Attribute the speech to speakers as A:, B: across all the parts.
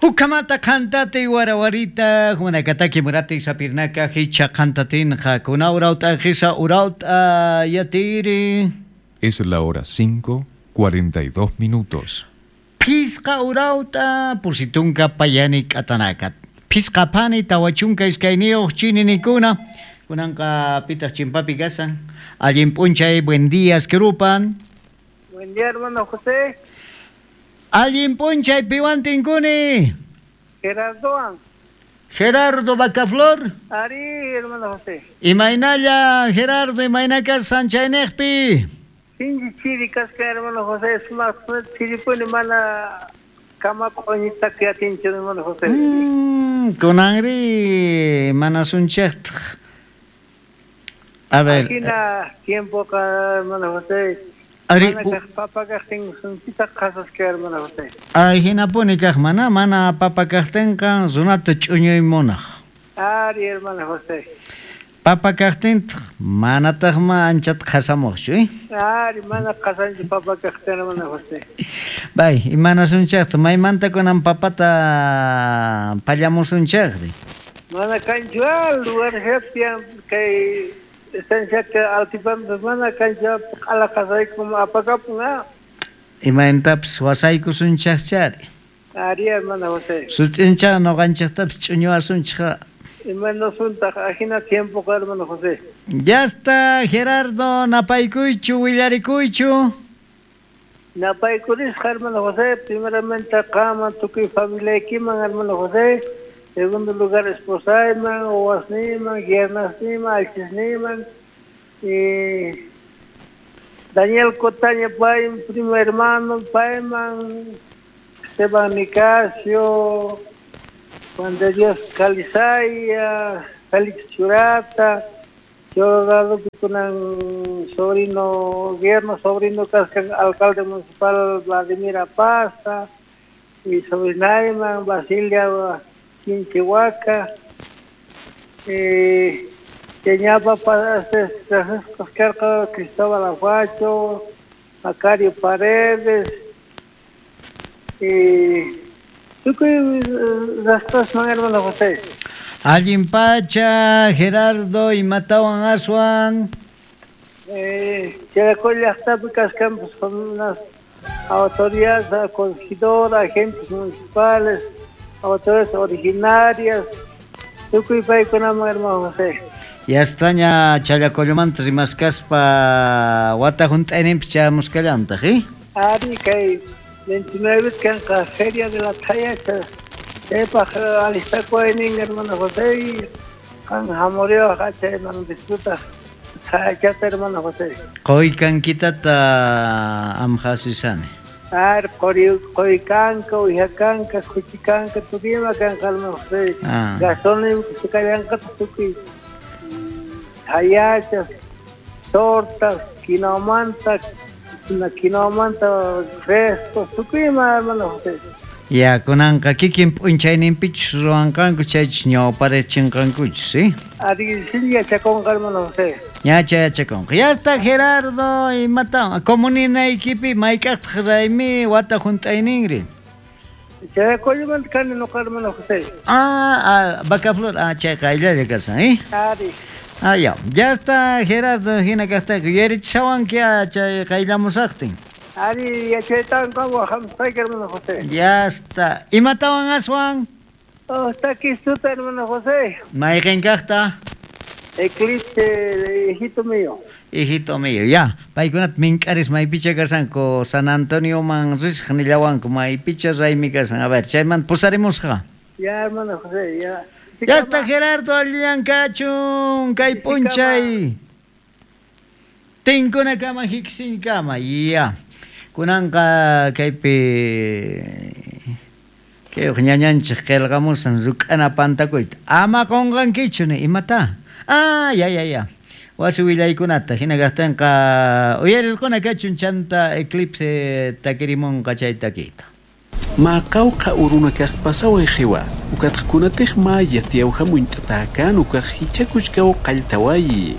A: Ukamata qantati warawarita humanakataki murati sapirnaka hicha qantatinqa kuna urauta hisa urauta yatiri.
B: Es la hora 5:42 minutos.
A: Pisqa urauta pusitunka payani k'atanaka. Pisqa phani tawachunka iskayniyuq chininikuna. Kunanqa pitaq chimpapi kasan. Allin p'unchay, buen día, Esquerupan.
C: Buen día, hermano José.
A: Allin p'unchay piwan tinkuni.
C: Gerardoan.
A: Gerardo Bacaflor.
C: Ari, hermano José.
A: Imaynalla, Gerardo, imayna kasan chayniqpi.
C: Sinchi chiri kasqa, hermano José. Sumaq chiripuni mana kama q'uñita yatinchu, hermano José.
A: Kunanri mana sunchaqtaq. A ver.
C: Ajina tiempoqa, hermano José.
A: Ari,
C: Mana kaq papa kaqtin sunchita qhasasqa, hermano José.
A: Ay, hinapuni kaq mana papa kaqtinqa runata ch'uñuy munaq.
C: Ari, hermano José.
A: Papa kaqtintaq manataqma anchata qhasamuqchu, eh?
C: Ari, mana qhasanchu papa kaqtin, hermano José.
A: Bay, imanasunchaqta maymanta kunan papata pallamusunchaqri.
C: Mana kanchu lugar tiyan kay estanciaqa altiplano mana kanchu q'ala qhasaykum apakapun ah.
A: Imaynatapis wasaykusunchaqchari.
C: Ari, hermano José.
A: Sut'inchaq noqanchaqtapis ch'uñuwasunchaq.
C: Imanasuntaq ajina tiempoqa, hermano José.
A: Ya está, Gerardo, napaykuychu, willarikuychu.
C: Napaykurisqa, hermano José, primeramente qaman tukuy familiaykiman, hermano José. Segundo lugar, esposayman, wawasniyman, yernasniyman, alchisniyman. Y Daniel Cotaña, pay, primo hermano, payman, Esteban Nicasio, Juan de Dios Calizaya, Félix Churata, yo kunan sobrino, yerno, sobrino kaskan alcalde municipal Vladimir Apaza, y sobrinayman Basilia Quinchihuaca, Teñapa Francisco Cristóbal Aguacho, Macario Paredes, y tukuy rastasman, hermano José.
A: Allin pacha, Gerardo, imatawan aswan.
C: Cheracoy llaqtapi kaskanpas unas autoridades, corregidora, agentes municipales, autoridades originarias, tukuy paykunaman, hermano José.
A: Ya estaña Challacollomanta rimaskaspa wata hunt'ayninpis chayamusqallantaq, eh?
C: Ari, kay 29 kanqa Feria de la Thayacha. Chaypaq alistakuynin, hermano José, qan hamuriwaq chayman disfrutaq Thayachata, hermano José.
A: Quykankitata amhasisani.
C: Ar, quykanka, uyakanka, khuchikanka, tukuyma kanqa, hermano José.
A: Ah.
C: Gastronómico kallanqataq tukuy thayachas, tortas, quinoamanta, quinoamanta frescos, tukuyma, hermano José.
A: Ya, kunanqa kikin p'unchayninpichus ruwanqanku chaychus ñawparichinqankuchus, ¿sí?
C: Ari, sí, yachakunqa, hermano José.
A: Ñacha yachakunqa. Ya está, Gerardo, imata, comuninaykipi mayk'aqtaq raymi wata hunt'ayninri.
C: Chayacollomanta kani noqa, hermano José.
A: Ah, Bacaflor, chayqa ayllalla kasan, ¿eh?
C: Ari.
A: Ah, ya. Ya está, Gerardo, hina kaqtayku. Yuyarichisawanki chay qayllamusaqtin.
C: Ari, yachaytanqa wahamsqayki, hermano José.
A: Ya está. Imatawan aswan?
C: Oh, está aquí suta, hermano José.
A: Mayqin kaqta?
C: Eclipse, hijito mío.
A: Hijito mío, ya. Paykunata mink'aris maypicha kasanku, San Antonioman risaq nillawanku, maypicha raymi kasan. A ver, chaymanta pusarimusqa.
C: Ya, hermano José, ya.
A: Ya está, Gerardo, allillan kachun, kay p'unchay. Tinkunakama, hiksinkama, ya. Kunanqa kaypi kay uq ñañanchik qillqamusan ruk'ana pantakuyta. Ama qunqankichu ni imata. Ah, ya, ya, ya. Wasi willaykunata hina kaqtinqa uyarirquna kachun chanta eclipse takirimunqa chay takiyta.
D: Maqawqa uruna kaq pasaway qiwa ukatqkunatiq maya tiyawhamunt'atakan ukaq hichakuchkaw qalltawayi.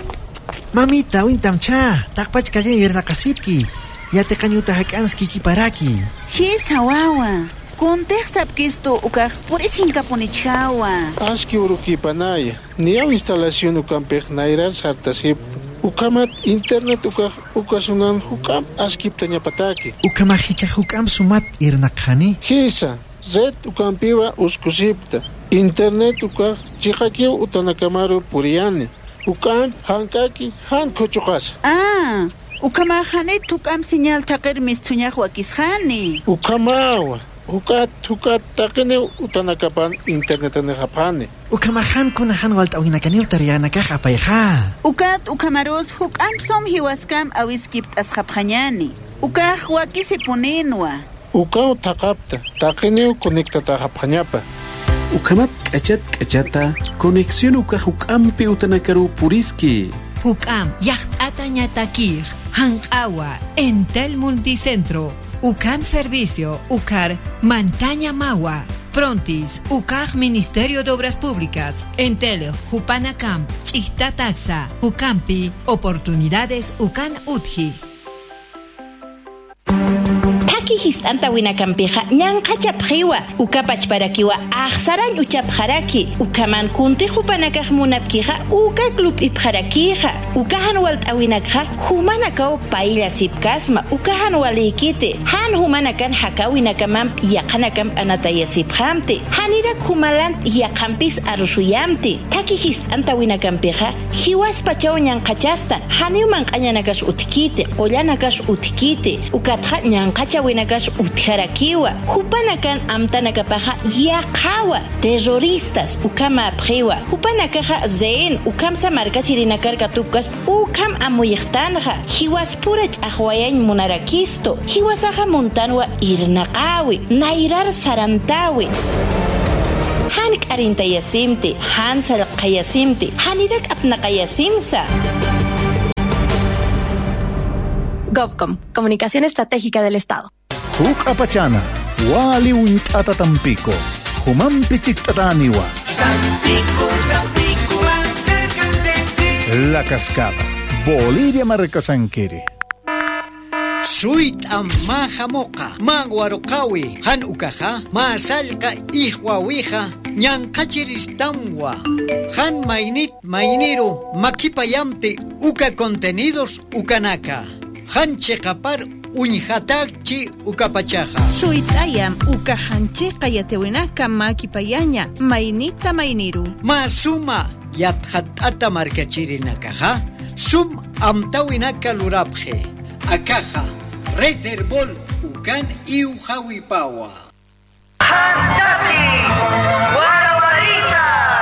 E: Mamita, wintamcha, taqpachkallan yernaqasipki. Yateqañuta hak'anski kiparaki.
F: Hisa wawa, Kuntej sapkistu ukaj purisinkamunichhawa.
G: Aski urukipanaya. Niyaw instalación ukampej nayrar sartasip. Ukamat internet ukaj ukasunan hukam askipta ñapataki.
E: Ukamajicha hukam sumat irnaqhani.
G: Hisa, red ukampiwa uskusipta. Internet ukaj chiqakiw utanakamaru puriyani. Ukam hankaki han kuchuqasa.
F: Ah, ukamajani tukam señal taqir mistuñaj wakishani.
G: Ukamawa. Ukat hukat taqini utanakapan internet nehapani.
E: Ukamahan kunahan waltawinakanil tarianakaj apayja.
F: Ukat ukamarus hukam som hiwaskam awiskip tasjapjañani. Ukaj wakisipuninwa.
G: Ukaw taqapta taqini conectata.
D: Ukamat k'achat k'achata conexión ukaj ukampi utanakaru puriski.
H: Hukam yaqt'ata ñatakij hanq'awa Entel Multicentro. Ukan Servicio, Ucar, Mantaña Mawa, Prontis, Ucaj Ministerio de Obras Públicas, Entel, Jupanacamp, Chihtataxa, Ucampi, Oportunidades Ucan Utji.
I: Taki histanta winakampiqa ñanqachapqiwa ukapachparakiwa aqsaran uchapqaraki ukaman kunti hupanakaq munapkiqa uka club ipqarakiqa ukahan walt'awinakqa humanakaw paylla sipkasma ukahan waliykiti han humanakan hakawinakaman yaqanakam anatayasipqamti hanirak humalant yaqanpis arusuyamti taki histanta winakampiqa hiwaspachaw ñanqachastan haniwman q'añanakash utkiti qullanakash utkiti ukatqa ñanqacha winakash utjarakiwa hupanakan amtanakapaja yaqawa terroristas ukama apqiwa hupanakaja zen ukamsa markachirinakarka tupkas ukam amuyaqtanja hiwaspura ch'aqwayañ munarakisto hiwasaja muntanwa irnaqawi nayrar sarantawi han k'arintayasimti han sallqayasimti hanirak apnaqayasimsa.
J: GovCom, Comunicación Estratégica del Estado.
K: Huk apachana, wali unt'ata Tampico, humampi chiktataniwa.
L: Tampico, Tampico, acércate.
K: La Cascada, Bolivia Marcasanquiri.
A: Suit amma hamoqa, manwaruqawi, han ukaja, ma sallqa ihwawija, ñanqachiristanwa. Han mainit mainiru, makipayamti uka contenidos ukanaka. Han chiqapar uñjatachi ukapachaja.
M: Suitayam ukahanchiqa yatewinaka makipayaña, mainita mainiru.
A: Ma suma yatjat'ata markachirinakaja, sum amtawinaka lurapje. Akaja, Red Herbol ukan iujawipawa.